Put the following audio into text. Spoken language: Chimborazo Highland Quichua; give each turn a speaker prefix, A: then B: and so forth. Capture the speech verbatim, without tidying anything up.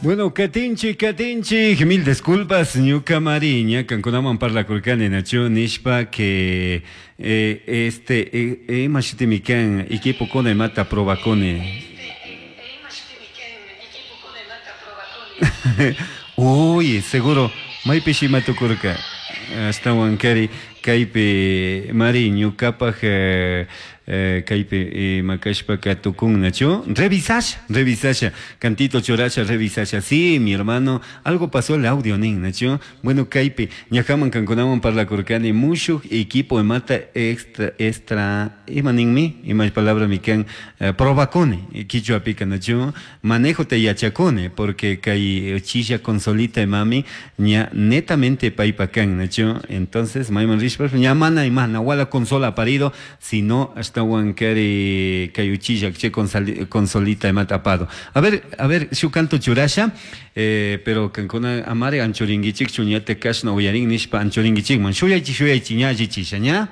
A: Bueno, katinchik, katinchik, mil disculpas, ñuka mari, ña kankunaman parlakurkani nachu nishpa que eh, este eh, ima shutimi kan equipo kuna imata probakuni. Uy, seguro, maypish ima tukurka. Ashtawan kari kaypi mari ñukapaj eh, eh, kaypi ima kashpaka tukun nachu revisasha, revisasha, cantito churasha, revisasha. Sí, mi hermano, algo pasó el audio nin nachu. Bueno, kaypi ñajaman kankunaman parlakurkani mushuj equipo imata extra extra ima ninmi, ima palabra mi kan eh, probakuni kichwapika nachu, manejo te yachakuni porque kay chisha consolita imami ña netamente paypa kan nachu. Entonces mayman rishpa ña mana ima nawala consola parido, sino ashtawan kari kay uchilla che consolita imata apado. A ver, a ver, shu canto churasha, eh, pero kankuna amare anchuringuichik chuñate kashna uyarin nishpa anchuringuichikman shuyaychi shuyaychi ña allichisha ña.